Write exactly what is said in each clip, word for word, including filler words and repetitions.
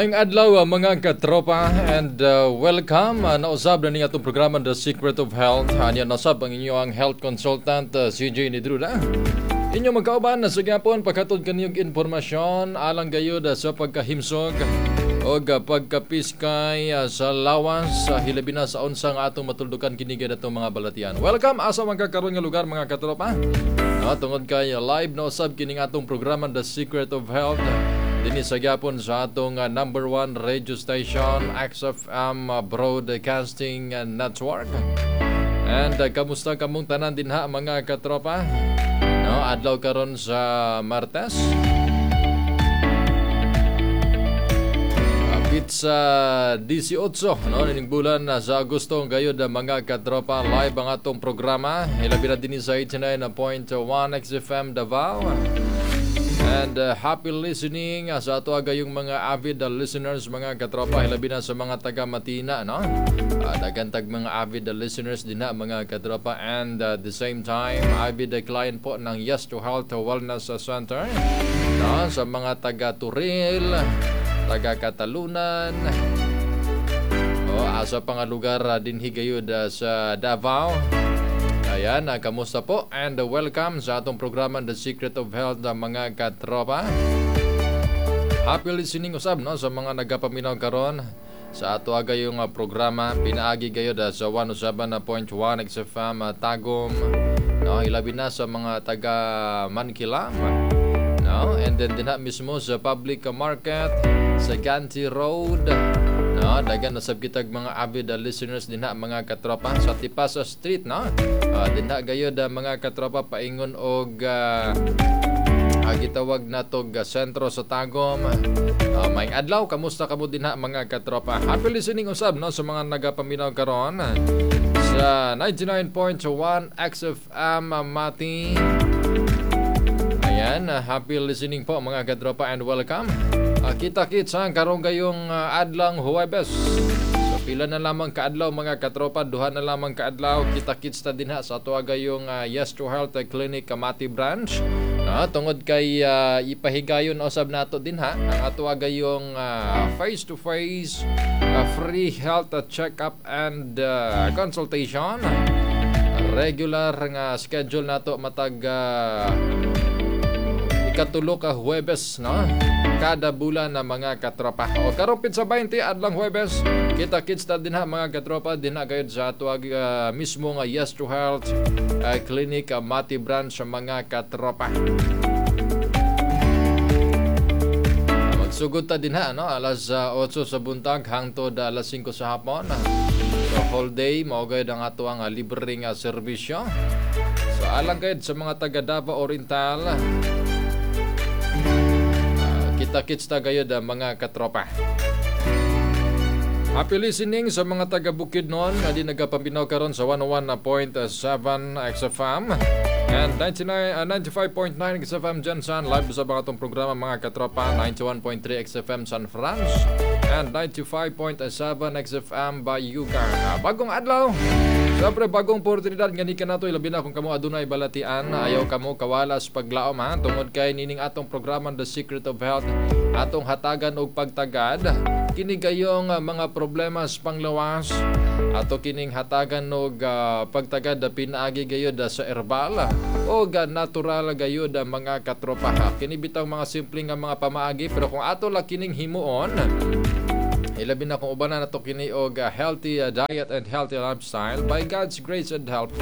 Maayong adlaw uh, mga katropa and uh, welcome uh, nausab na ning atong programa The Secret of Health. Anya nasab ang inyong health consultant uh, C J Nidruda. Inyo magkauban na sa gyapon paghatod kaniyong impormasyon alang gayud uh, sa pagkahimsog o pagkapiskay uh, sa lawas sa hilabi na sa unsa nga atong matuldukan kini atong mga balatian. Welcome asa man karon nga lugar, mga katropa. No, tungod kay uh, live na usab kining atong programa The Secret of Health dinhi sa gyapon sa atong uh, number one radio station, X F M uh, Broadcasting uh, Network. And uh, kamusta kamong tanan dinha, mga katropa? No, adlaw karon sa Martes. Uh, Pitsa eighteen, no, nining bulan na sa Agosto gayud uh, mga katropa, live ang atong programa hilabi na dinhi sa eighty-nine point one X F M Davao. And uh, happy listening uh, sa ato gayong mga avid uh, listeners, mga katropa, hilabi na sa mga taga Matina, no? Uh, daghan tag mga avid uh, listeners dinha, mga katropa, and uh, at the same time avid uh, client po ng Yes to Health Wellness Center, no? Sa mga taga Turil, taga Catalunan, oh, asa pa nga lugar uh, dinhi gayud uh, sa Davao. Ayan, uh, kamusta po? And uh, welcome sa atong programa The Secret of Health, uh, mga katropa. Happy listening usab, no, sa mga nagapaminaw karon sa ato gayong uh, programa pinaagi gayud uh, sa one oh seven point one X F M uh, Tagum, no, hilabi na sa mga taga Mankilam, no, and then dinha mismo sa public market sa Ganti Road, no, daghan na sab kitag mga avid uh, listeners dinha, mga katropa, sa Tipasa Street, no. Uh, dinha gayud uh, mga katropa, paingon og uh, uh, gitawag nato uh, sentro sa Tagum. Uh, maayong adlaw, kamusta kamo dinha, mga katropa? Happy listening usab, no, sa mga nagapaminaw karon sa ninety-nine point one X F M Mati. Ayan, uh, happy listening po, mga katropa, and welcome. Uh, kita-kits ha, karong gayong uh, adlang Huwebes. So pila na lamang kaadlaw, mga katropa, duha na lamang kaadlaw, kita-kits ta dinha sa ato gayong uh, Yes to Health Clinic Mati Branch. No, tungod kay uh, ipahigayon usab nato dinha ang ato gayong uh, face-to-face uh, free health check-up and uh, consultation. Regular nga schedule nato matag uh, ikatulo ka Huwebes, no, kada bulan na, mga katropa. O karon sa twenty adlang Huwebes, kita kits ta dinha, mga katropa, dinha gayud sa ato uh, mismo nga Yes to Health uh, Clinic uh, Mati Branch, mga katropa. Uh, magsugod ta dinha, no, alas uh, otso sa buntag hangtod uh, alas singko sa hapon. So whole day mao gayud ang ato ang uh, libre nga serbisyo. So alang gayud sa mga taga Davao Oriental, kita-kits ta gayud, mga katropa. Happy listening sa mga taga Bukidnon nga di nagapaminaw karon sa one oh one point seven X F M and ninety-nine, uh, ninety-five point nine X F M GenSan. Live sa mga atong programa, mga katropa, ninety-one point three X F M San Franz and ninety-five point seven X F M Bayugan. Uh, bagong adlaw. Siyempre, bagong oportunidad nga ni kanato, ilabi na kung kamo adunay balatian, ayaw kamo kawalas paglaom ha, tungod kay nining atong programa The Secret of Health, atong hatagan og pagtagad kini gayong uh, mga problema sa panglawas, ato kining hatagan og uh, pagtagad pinaagi gayud uh, sa herbal o uh, natural gayud, uh, mga katropa. Kini bitaw mga simple nga mga pamaagi, pero kung ato la kining himuon, ilabi na kung ubanan nato kini og uh, healthy uh, diet and healthy lifestyle, by God's grace and help,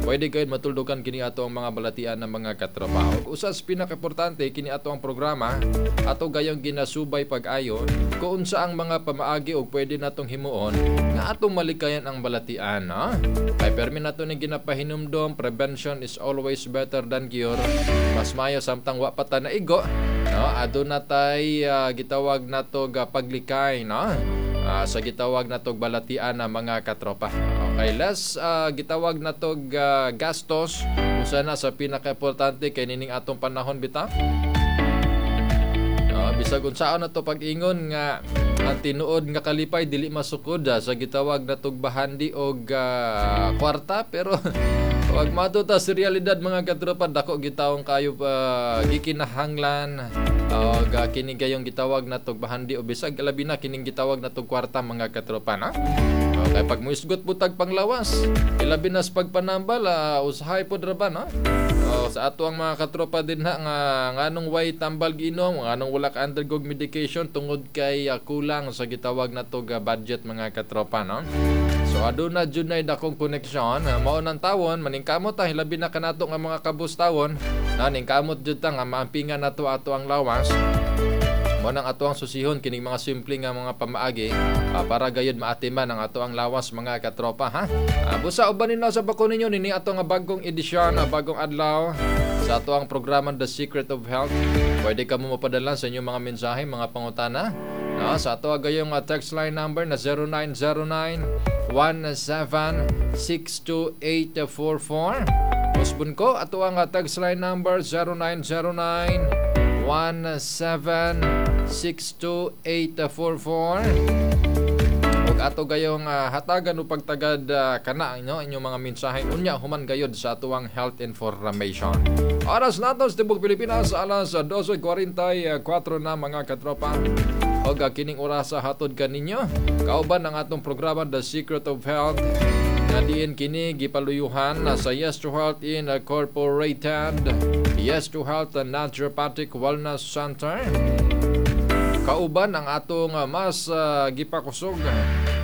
pwede kayo matuldukan kini ato ang mga balatian ng mga katropa. Ug usas pinakaimportante kini ato ang programa, ato gayong ginasubay pag-ayo kung unsa ang mga pamaagi og pwede natong himuon nga atong malikayan ang balatian, no? Kay permi nato ni ginapahinumdom, prevention is always better than cure. Mas mayo samtang wa pa ta naigo, no, aduna tay uh, gitawag nato ga paglikay, no, uh, sa gitawag nato balatian na, mga katropa. Okay, less uh, gitawag nato uh, gastos, usa na sa pinakaimportante kay nining atong panahon bitaw. No, bisag unsaon nato pag-ingon nga ang tinuod nga kalipay dili masukod uh, sa gitawag natog bahandi og uh, kwarta, pero Pag matuta sa realidad, mga katropa, dako gitawong kayo pa uh, gikinahanglan uh, ga kini gayong gitawag na tog bahandi o bisag labi na kining gitawag na tog kwarta, mga katropa, na. Okay, pag muisgot po tag panglawas, ilabi na sa pagpanambal, uh, usahay po ra ba, no? Oh, sa ato ang mga katropa din ha nga nganong way tambal giinom, nganong wala ka undergo medication, tungod kay uh, kulang sa gitawag na tog uh, budget, mga katropa, no? So aduna jud nay dakong koneksyon, uh, mao nang tawon maningkamot ta, hilabi na kanato nga mga kabustawon, na ningkamot jud ta nga maampingan nato ato ang lawas. Mao nang ato ang susihon kining mga simple nga mga pamaagi uh, para gayud maatiman ang ato ang lawas, mga katropa, ha. Uh, busa uban ninyo sa bako ninyo nini ato nga bagong edisyon, uh, bagong adlaw sa ato ang programa The Secret of Health. Pwede ka mo mapadala sa inyong mga mensahe, mga pangutana, no, sa ato gayong uh, text line number na zero nine zero nine one seven six two eight four four. Usbon ko ato ang uh, text line number zero nine zero nine one seven six two eight four four. Ug ato gayong uh, hatagan o pagtagad uh, kana no inyong mga mensahe unya human gayod sa atuang health information. Oras nato sa tibok Pilipinas, alas dose kwarenta y kuwatro na, mga katropa. Og uh, kining orasa hatod kaninyo kauban ang atong programa The Secret of Health nga diin kini gipaluyuhan na sa Yes to Health Incorporated, Yes to Health Naturopathic Wellness Center. Kauban ang atong uh, mas uh, gipakusog,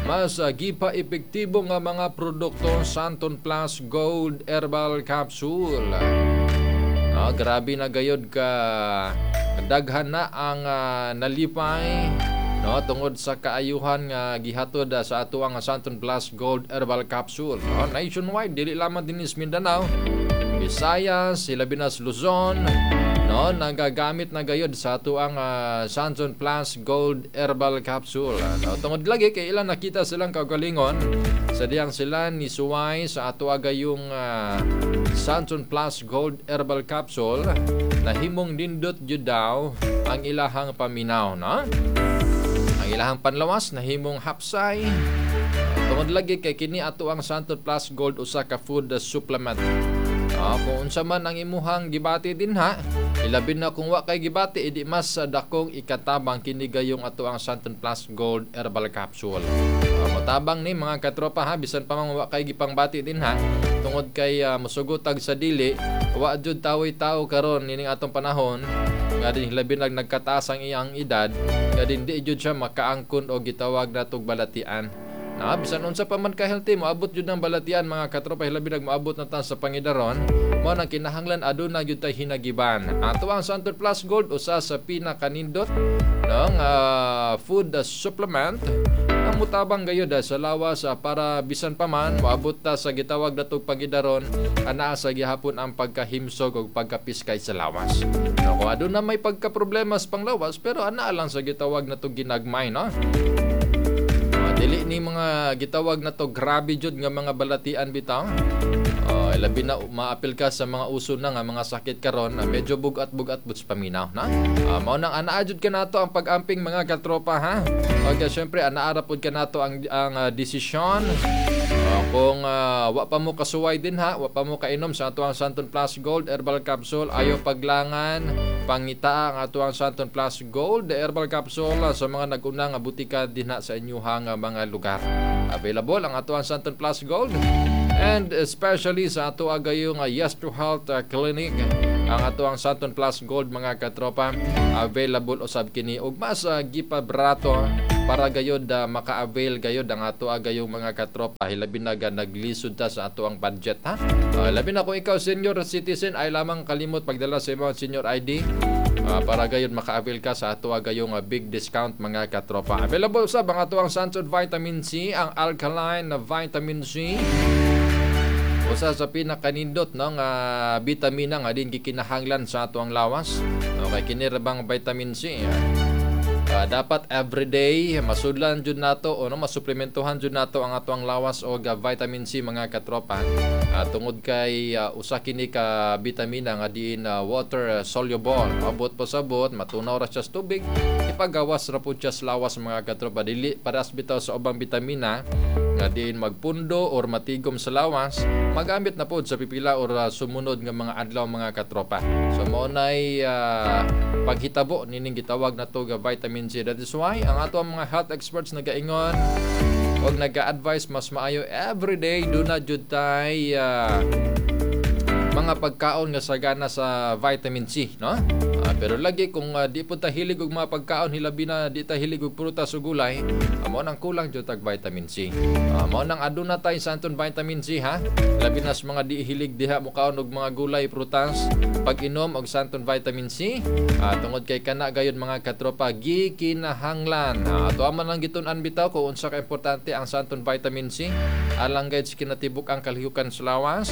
mas uh, gipa-epektibo nga mga produkto, Santon Plus Gold Herbal Capsule. Ah, grabe na gayod ka daghan na ang uh, nalipay, no, tungod sa kaayuhan nga gihatod uh, sa ato ang Santon Plus Gold Herbal Capsule, no? Nationwide, dili lamang dinhi sa Mindanao, Visayas, hilabi na sa Luzon, no, nagagamit na gayod sa ato ang uh, Santon Plus Gold Herbal Capsule, no? Tungod lagi kay ilang nakita silang kaugalingon sa diyang sila ni suway sa ato agayong uh, Santon Plus Gold Herbal Capsule, nahimong nindot jud daw ang ilahang paminaw, no? Ang ilahang panlawas nahimong hapsay. Tungod lagi kay kini ato ang Santon Plus Gold usa ka food supplement. Ah, kung unsa man ang imuhang gibati din ha, ilabi na kung wa kay gibati, idi mas sa dakong ikatabang kini gayong ato ang Santon Plus Gold Herbal Capsule. Uh, motabang ni, mga katropa, ha, bisan pa man wa kay gipangbati din ha, tungod kay uh, musugotag sa dili, wa jud tawoy tao karon nining atong panahon nga din labi nag nagkataas ang iyang edad nga din di jud siya makaangkon og gitawag natog balatian. Na bisan unsa pa man ka healthy, moabot jud ng balatian, mga katropa, hilabi nag moabot na ta sa pangidaron. Mao nang kinahanglan aduna gyud tay hinagiban. Ato ang Santon Plus Gold usa sa pinakanindot ng uh, food supplement ang mutabang gayud sa lawas uh, para bisan pa man moabot ta sa gitawag natog pangidaron, anaa sa gihapon ang pagkahimsog ug pagkapiskay sa lawas. No, kung aduna may pagkaproblema sa panglawas, pero anaa lang sa gitawag natog ginagmay, no? Dili ni mga gitawag na to grabe jud nga mga balatian bitaw. Uh, labi na maapil ka sa mga uso na nga mga sakit karon na medyo bugat-bugat buts paminaw na. Uh, mao nang anaa jud kanato ang pag-amping, mga katropa, ha. Okay, syempre anaa ra pud kanato ang ang uh, desisyon. Uh, kung uh, wa pa mo kasuway din ha, wa pa mo kainom sa ato ang Santon Plus Gold Herbal Capsule, ayo paglangan, pangita ang ato ang Santon Plus Gold Herbal Capsule sa mga nag-una nga butika dinha sa inyuhang mga lugar. Available ang ato ang Santon Plus Gold and especially sa ato agayong Yes to Health Clinic. Ang ato ang Santon Plus Gold, mga katropa, available usab kini ug mas uh, gipabrato para gayod uh, maka-avail gayod ang ato agayong mga katropa, hilabi na naglisod ta sa ato ang budget, ha. Uh, labi na kung ikaw senior citizen ay lamang kalimot pagdala sa imong senior I D uh, para gayod maka-avail ka sa ato agayong uh, big discount, mga katropa. Available sa ang ato ang Santon Vitamin C, ang alkaline na vitamin C, usa sa pinakanindot, no, nga bitamina nga din gikinahanglan sa ato ang lawas. Okay, kini ra bang vitamin C. Uh, dapat everyday masudlan jud nato o no, masuplementohan jud nato ang ato ang lawas og uh, vitamin C, mga katropa. Uh, tungod kay uh, usa kini ka bitamina nga diin uh, water soluble. Abot pasabot matunaw ra siya sa tubig, ipagawas ra pud siya sa lawas, mga katropa. Dili paras bitaw sa ubang bitamina Nga diin magpundo or matigom sa lawas, magamit na pod sa pipila or uh, sumunod nga mga adlaw, mga katropa. So mao nay uh, paghitabo nining gitawag nato nga vitamin C. That is why ang ato ang mga health experts nagaingon og nag-advise, mas maayo everyday duna jud tay uh, mga pagkaon nga sagana sa vitamin C, no? Uh, pero lagi kung uh, di po ta hilig og mga pagkaon, hilabi na di ta hilig og prutas ug gulay, uh, mao nang kulang jud tag vitamin C. Uh, mao nang aduna tay Santon vitamin C, ha. Labi na sa mga di hilig diha mokaon og mga gulay, prutas, pag-inom og Santon vitamin C, uh, tungod kay kana gayud, mga katropa, gikinahanglan. Uh, ato man lang gitun-an bitaw kung unsa ka importante ang Santon vitamin C alang gayud sa kinatibuk ang kalihukan sa lawas.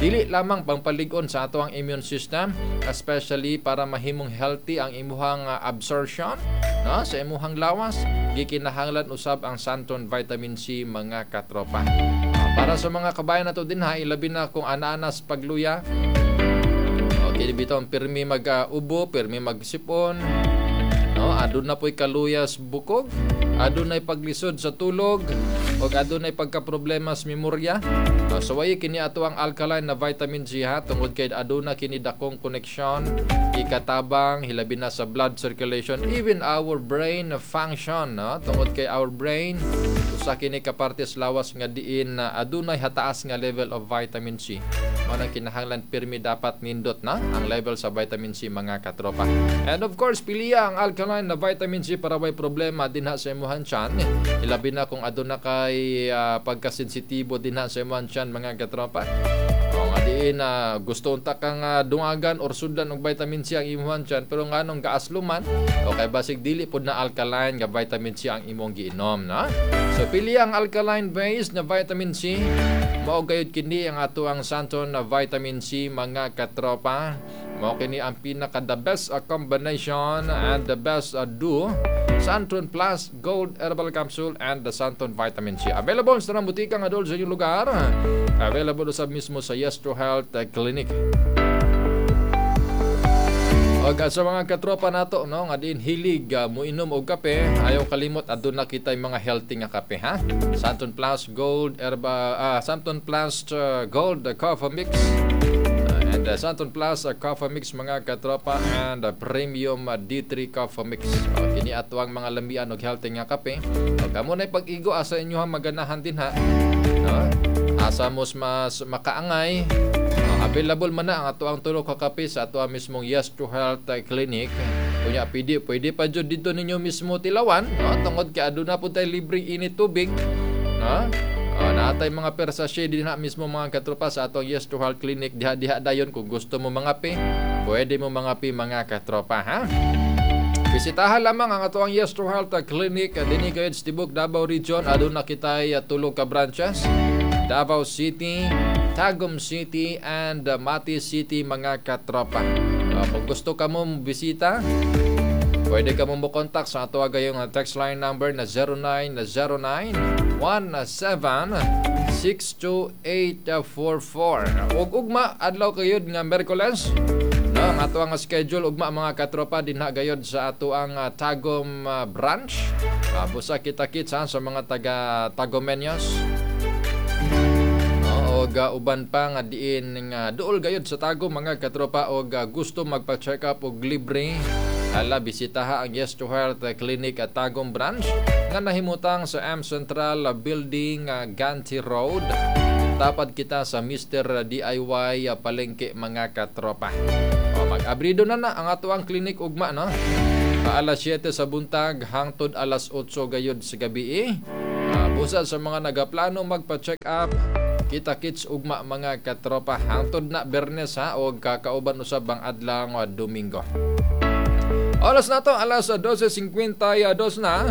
Dili lamang pangpalig-on sa ato ang immune system, especially para mahimong healthy ang imuhang uh, absorption, no, sa imuhang lawas, gikinahanglan usab ang Santon vitamin C, mga katropa. Uh, para sa mga kabayan nato din ha, ilabi na kung ana-anas pagluya. Okay, bitaw ang pirmi mag-ubo, pirmi magsipon, no, aduna po'y kaluyas bukog, adunay paglisod sa tulog, ug adunay pagkaproblema sa memorya. Uh, so way kini ato ang alkaline na vitamin C, ha, tungod kay aduna kini dakong koneksyon, ikatabang hilabi na sa blood circulation, even our brain function, no, tungod kay our brain usa kini ka parte sa lawas nga diin na adunay hataas nga level of vitamin C. Mao nang kinahanglan pirmi dapat nindot na ang level sa vitamin C, mga katropa. And of course, piliya ang alkaline na vitamin C para way problema dinha sa imuhang tiyan. Ilabi na kung aduna kay uh, pagkasensitibo dinha sa imuhang tiyan, mga katropa. O nga diin na uh, gusto unta kang uh, dungagan or sudlan og vitamin C ang imuhang tiyan, pero nganong gaasluman o kay basig dili pod na alkaline nga vitamin C ang imong giinom, no? So pili ang alkaline base na vitamin C. Mao gayud kini ang ato ang Santon na vitamin C, mga katropa. Mao kini ang pinaka the best uh, combination and the best uh, do Santon Plus Gold Herbal Capsule and the Santon Vitamin C. Available sa tanang butika nga dol sa inyong lugar. Available usab mismo sa Yes to Health Clinic. Og sa mga katropa nato, no, nga diin hilig uh, muinom og kape, ayaw kalimot, aduna kita mga healthy nga kape, ha. Santon Plus Gold Erba uh, Santon Plus uh, Gold Coffee Mix uh, and uh, Santon Plus uh, Coffee Mix, mga katropa, and uh, Premium uh, D three Coffee Mix. O, kini ato ang mga lamian og healthy nga kape. O kamo na pag-igo asa inyo maganahan din ha. No? Asa mos mas makaangay. Available man na ang ato ang tulo ka kape sa ato ang mismong Yes to Health Clinic. Kunya pwede pwede pa jud dito ninyo mismo tilawan, no? Tungod kay aduna pud tay libreng init tubig, no? Uh, naatay mga per sachet din na mismo, mga katropa, sa atong Yes to Health Clinic diha diha dayon. Kung gusto mo mangape, pwede mo mangape, mga katropa, ha. Bisitahan lamang ang ato ang Yes to Health Clinic dinhi gayud sa tibok Davao Region. Aduna kitay tulo ka branches: Davao City, Tagum City and uh, Mati City, mga katropa. Uh, kung gusto ka mo bisita, pwede ka mo mo-contact sa ato gayong text line number na zero nine zero nine one seven six two eight four four. Ug ugma adlaw kayod nga Miyerkules, no, ang ato ang schedule ugma, mga katropa, dinha gayod sa ato ang uh, Tagum uh, branch. Uh, busa kita-kitsa sa mga taga Tagumenyos og uh, uban pa nga diin nga duol gayud sa Tagum, mga katropa, og uh, gusto magpa-check up og libre, ala bisitaha ang Yes to Health Clinic at Tagum branch nga nahimutang sa M Central Building, uh, Ganti Road, tapad kita sa Mister D I Y uh, palengke, mga katropa. O, mag-abrido na na ang ato ang clinic ugma, no, alas siyete sa buntag hangtod alas otso gayud sa gabi. Uh, busa sa mga nagaplano magpa-check up, kita kits ugma, mga katropa, hangtod na Bernes ha, og kakauban usab ang adlaw Domingo. Oras na to, alas dose singkwenta y dos na.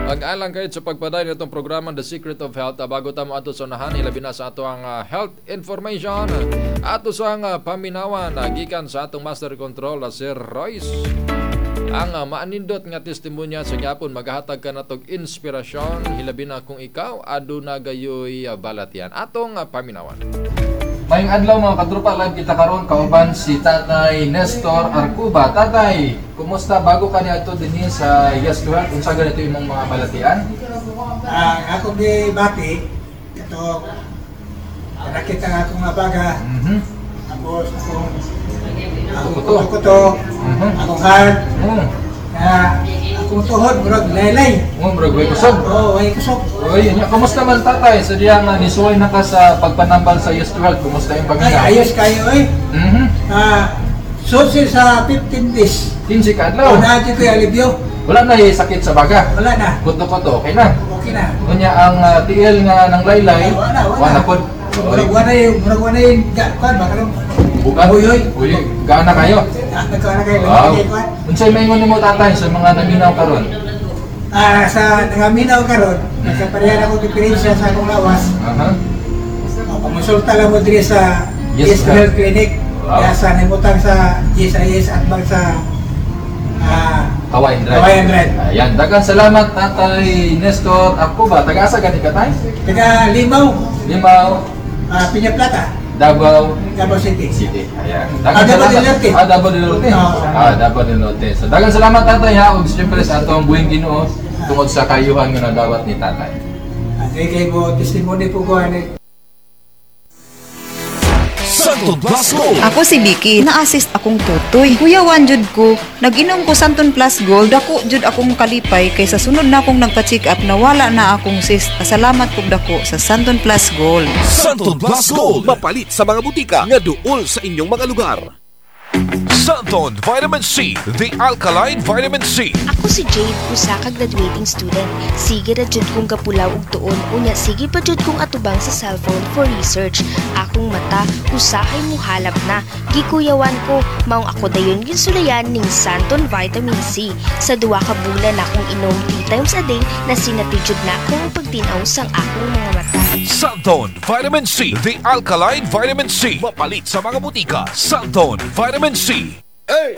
Pag-alang kayo sa pagpadayon itong programa The Secret of Health. Bago ta mo ato sa unahan, ilabi na sa ato ang uh, health information. Ato sa ang uh, paminawan, uh, gikan sa atong master control, uh, Sir Royce. Ang uh, maanindot nga testimonya sa gyapon maghatag ka natog inspirasyon, hilabi na kung ikaw aduna gayoy uh, balatian. Atong uh, paminawan. Mayong adlaw, mga katropa, live kita karon kauban si Tatay Nestor Arcuba. Tatay, kumusta bago ka niadto dinhi sa Yes to Health? Unsa ganito imong mga balatian? Ang ako gibati Ito, nakita nga akong baga, Mhm. tapos akong akong Kuto. kuto, Mhm. akong heart, Mm. na akong tuhod, murag laylay. Oh, murag way kusog. Oo, way kusog. Oy, nya kumusta man, tatay? Sa diya nga nisuway na ka sa pagpanambal sa Yes to Health, kumusta yung Ay, paghinga? ayos kayo eh. Mhm. Ah, susi sa fifteen days. kinse ka adlaw. Wala na ko yung alibyo. Wala na eh, sakit sa baga. Wala na. Kuto-kuto, okay na. Okay na. Unya ang ah, T L nga nang laylay, Ay, wala, wala. wala pod. Murag wala yung, murag wala yung, ga- kuan, baka nung, Bukan. Uy, uy. Uy, gaana kayo. Ah, nagkuhan na kayo, Wow. lagi kuan. Unsay maingon nimo, tatay, sa mga naminaw karon? Ah, sa nangaminaw karon, nagkaparehan ako diferensya sa akong lawas. Aha. O, pamonsulta lang mo diri sa Yes, Yes, sir. Health Clinic. Wow. Kaya sa nimutang sa G S I S at bang sa ah, Kawayan Drive. Kawayan Drive. Ayan, daghang salamat, Tatay Nestor. Ako ba taga-asa gani ka, tay? Taga Limaw, Limaw, ah, Piña Plata, Davao Davao City. City. Ayan. Ah, Davao del Norte. Ah, Davao del Norte. Oo. Ah, Davao del Norte. So, daghang salamat, tatay, ha, ug siyempre sa atong buhing Ginoo tungod sa kayuhan nga nadawat ni tatay. Ah, kay kay mo testimony po ko ani. Santon Plus Gold. Ako si Vicky, na-assist akong tutoy. Kuyawan jud ko, nag-inom ko Santon Plus Gold, dako jud akong kalipay kay sa sunod na akong nagpa-check up na wala na akong cyst. Pasalamat kog dako sa Santon Plus Gold. Santon Plus Gold. Mapalit sa mga butika nga duol sa inyong mga lugar. Santon Vitamin C, the alkaline vitamin C. Ako si Jade, usa ka graduating student. Sige ra jud kong gapulaw og tuon, unya sige pa jud kong atubang sa cellphone for research. Akong mata usahay muhalab na. Gikuyawan ko, maong ako dayon ginsulayan ning Santon Vitamin C. Sa duwa ka bulan akong inom three times a day, nasinati jud na akong pagtinaw sang akong mga mata. Santon Vitamin C, the alkaline vitamin C. Mapalit sa mga butika. Santon Vitamin C. Hey!